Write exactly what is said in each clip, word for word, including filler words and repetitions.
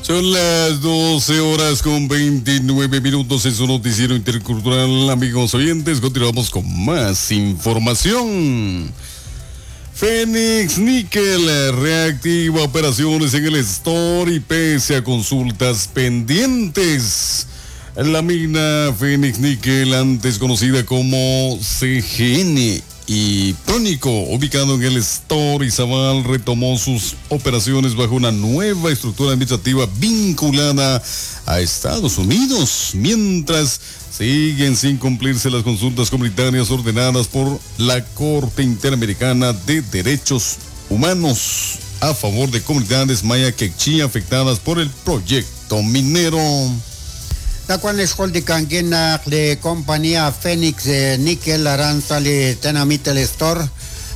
Son las doce horas con veintinueve minutos en su noticiero intercultural, amigos oyentes. Continuamos con más información. Fénix Níquel reactiva operaciones en el store y pese a consultas pendientes. La mina Fénix Níquel, antes conocida como C G N y Prónico, ubicado en el Store Izabal, retomó sus operaciones bajo una nueva estructura administrativa vinculada a Estados Unidos, mientras siguen sin cumplirse las consultas comunitarias ordenadas por la Corte Interamericana de Derechos Humanos a favor de comunidades maya quechí afectadas por el proyecto minero. Nakuan lixjultikankin naq li compañía Fénix Níquel aran sa li tenamit el Store.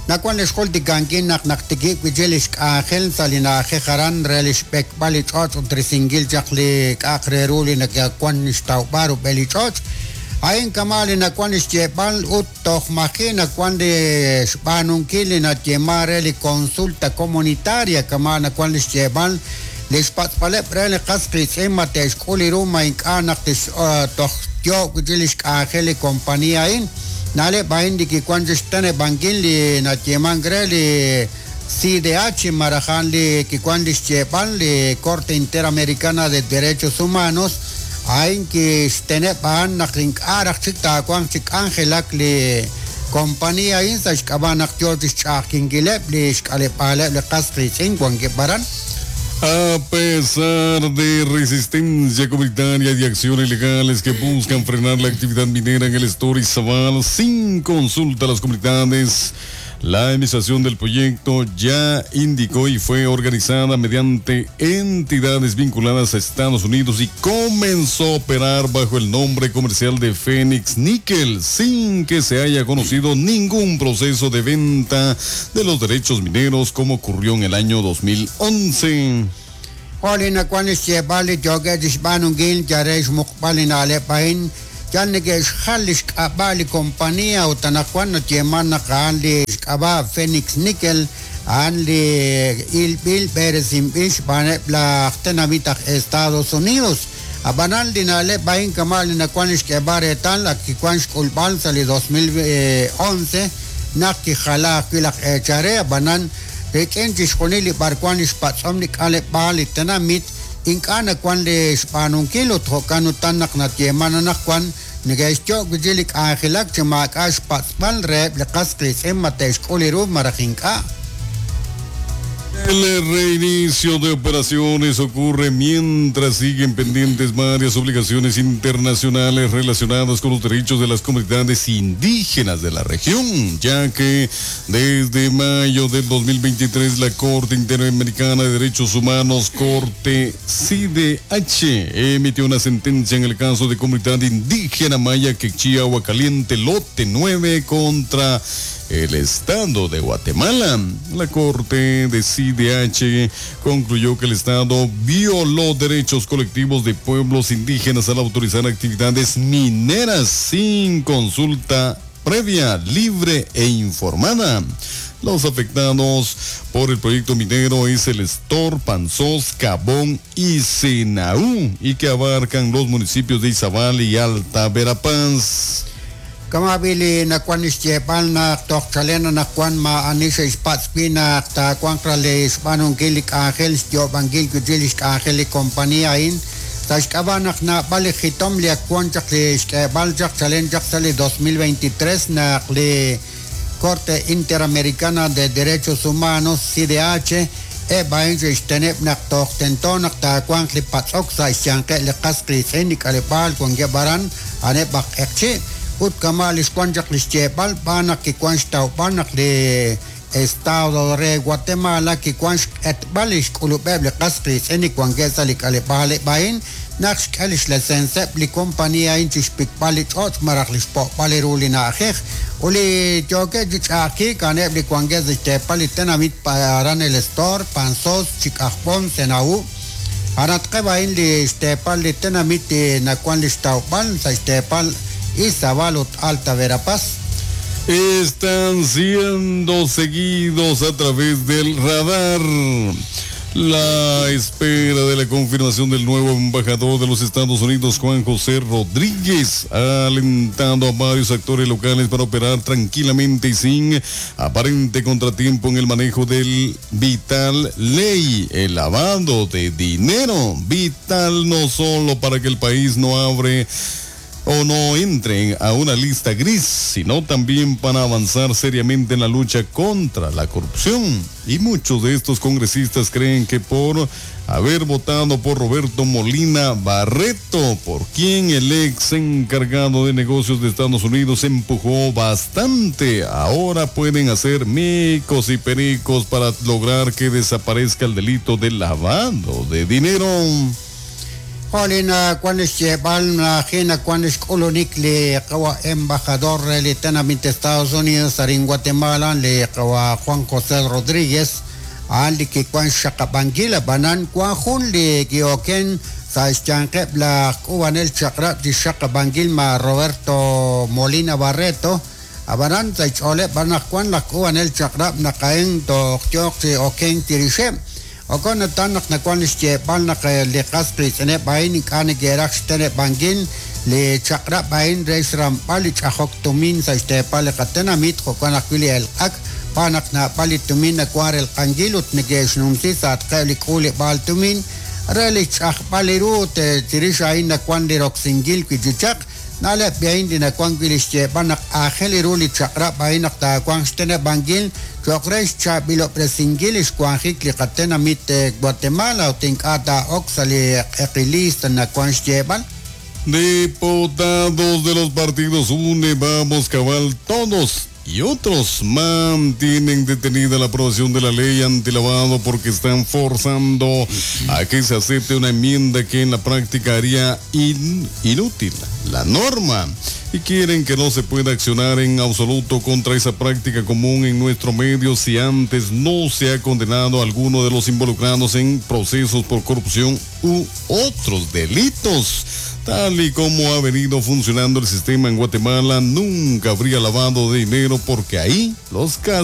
Nakuan lixjultikankin naq naqtikib wichi lixk'anjel sa li na'ajej aran re lixb'ekb'al li ch'och' ut risinkil chaq li k'aq re ru li nakuan xtawb'al rub'el li ch'och'. Ain kama li nakuan lixyeeb'al ut toj maji nakuan li xb'aanunkil li natyema re li consulta comunitaria kama nakuan lixyeeb'al lixpatz'paleb' re li qas qiitz'in ma te'xk'ul li ru ma ink'a' naq tix toj yo'k wichi lixk'anjel li compañía ain. Na'leb' ain li kikuan chixteneb'ankil li natyemank re li C D H marajan li kikuan lixyeeb'al li Corte Interamericana de Derechos Humanos ain kixteneb'an naq ink'a' raj chik taawanq chik k'anjelak li compañía ain sa' xk'ab'a' naq yoo chixch'a'ajkinkileb' li xk'aleb'aaleb' li qas qiitz'in wankeb' aran. A pesar de resistencia comunitaria y acciones legales que buscan frenar la actividad minera en el Store Izabal sin consulta a las comunidades, la administración del proyecto ya indicó y fue organizada mediante entidades vinculadas a Estados Unidos y comenzó a operar bajo el nombre comercial de Fénix Níquel, sin que se haya conocido ningún proceso de venta de los derechos mineros como ocurrió en el año dos mil once. Olina cuan ixyeb'al li yookeb' chixb'aanunkil yare xmuqb'al li na'leb' a'in. Yal neke'xjal li xk'ab'a' li compañía ut anaqwan natyeman naq a'an li xk'ab'a' Fénix Níquel, a'an li ilb'il b'eresinb'il xb'aaneb' laj tenamit aj Estados Unidos. Ab'anan li na'leb' a'in kama' li nawan li xk'eeb'al reetal ak kikuan xk'ulb'al sa' li dos mil once naq kijala ajwi' laj eechare. Ab'anan rik'in chixjunil li b'arwan li xpatz'om li k'aleb'aal li tenamit ink'a' nawan li xb'aanunkil ut jo'kan utan naq natyeman anaqwan neke'xyo'k wichi li k'anjelak chi maak'a' xpatz'b'al reheb' li qas qiitz'in ma te'xk'ul li ru maraj ink'a'. El reinicio de operaciones ocurre mientras siguen pendientes varias obligaciones internacionales relacionadas con los derechos de las comunidades indígenas de la región, ya que desde mayo del dos mil veintitrés la Corte Interamericana de Derechos Humanos, Corte C D H, emitió una sentencia en el caso de comunidad indígena maya Quechí Agua Caliente Lote nueve contra el Estado de Guatemala. La Corte de C D H concluyó que el Estado violó derechos colectivos de pueblos indígenas al autorizar actividades mineras sin consulta previa, libre e informada. Los afectados por el proyecto minero es el Estor, Panzós, Cabón y Senaú, y que abarcan los municipios de Izabal y Alta Verapaz. Kama bili nakuan ixyeb'al naq toj chalen nakuan ma ani xe'xpatz'wi naq taawanq ra li xb'aanunkil li k'anjel xyo'b'ankil wichi li xk'anjel li compañía a'in. Sa' xk'ab'a' naq nab'al li jitom li akuan chaq li xk'eeb'al chaq chalen chaq sa' li dos mil veintitrés naq li Corte Interamericana de Derechos Humanos C D H eb' a'in xe'xteneb' naq toj tento naq taawanq li patz'ok sa' xyanqe' li qas qiitz'in li k'aleb'aal wankeb' aran a'aneb' aj q'eqchi'. Ut kama li xwan chaq li xyeeb'al b'aan naq kikuan xtawb'al naq li Estado re Guatemala kikuan xq'etb'al li xk'ulub'eb' li qas qiitz'in li wankeb' sa' li k'aleb'aal a'in naq xk'e li xlecenseb' li compañía a'in chixpikb'al li ch'och' maraj li xpo'b'al li ru li na'ajej. Ut li yookeb' chi ch'a'ajkiik a'aneb' li wankeb' sa' xteepal li tenamit aran el Estor, Panzós, Chik'ajb'om, Senaú. Aratqeb' a'in li xteepal li tenamit nakuan li xtawb'al sa' xteepal Izabal ut Alta Verapaz. Están siendo seguidos a través del radar. La espera de la confirmación del nuevo embajador de los Estados Unidos, Juan José Rodríguez, ha alentado a varios actores locales para operar tranquilamente y sin aparente contratiempo en el manejo del vital ley, el lavado de dinero. Vital no solo para que el país no abre o no entren a una lista gris, sino también para avanzar seriamente en la lucha contra la corrupción. Y muchos de estos congresistas creen que por haber votado por Roberto Molina Barreto, por quien el ex encargado de negocios de Estados Unidos empujó bastante, ahora pueden hacer micos y pericos para lograr que desaparezca el delito de lavado de dinero. Jolina kwan xyeeb'al najina kwan xk'ulunik li qawa embajador li tenamit Estados Unidos arin Guatemala li qawa Juan José Rodríguez a'an li kikuan xaqab'ankil ab'anan kwan jun li kioken sa' xyanqeb' laj k'ubanel chaq'rab' chi xaqab'ankil ma Roberto Molina Barreto ab'anan sa' xch'ooleb' b'ar kwan laj k'ubanel chaq'rab' naqa'en toj yooq chi oken tirixeb' Okon tan naq nakuan xyeeb'al naq li qas qiitz'ineb' a'in ink'a' neke'raj xteneb'ankil li chaq'rab' a'in re xramb'al li ch'ajok tumin sa' xteepal li qatenamit jo'kan ajwi' li elq'ak b'an naq naab'al li tumin nakuan relq'ankil ut neke'xnumsi sa'atqeb' li k'uuleb'aal tumin re li ch'ajb'al li ru ut chirix a'in nakuan li roksinkil wi' chi chaq na'leb' a'in li nakuan wi' li xyeeb'al naq aajel ru li chaq'rab' a'in naq taawanq xteneb'ankil cho'q re xchaab'ilob'resinkil li xwanjik li qatenamit Guatemala ut ink'a' taa'ok sa' li q'eqilista nakuan xyeeb'al. Diputados de los partidos UNE, Vamos Cabal, todos y otros mantienen detenida la aprobación de la ley antilavado porque están forzando a que se acepte una enmienda que en la práctica haría in, inútil la norma y quieren que no se pueda accionar en absoluto contra esa práctica común en nuestro medio si antes no se ha condenado a alguno de los involucrados en procesos por corrupción u otros delitos. Tal y como ha venido funcionando el sistema en Guatemala, nunca habría lavado de dinero porque ahí los casos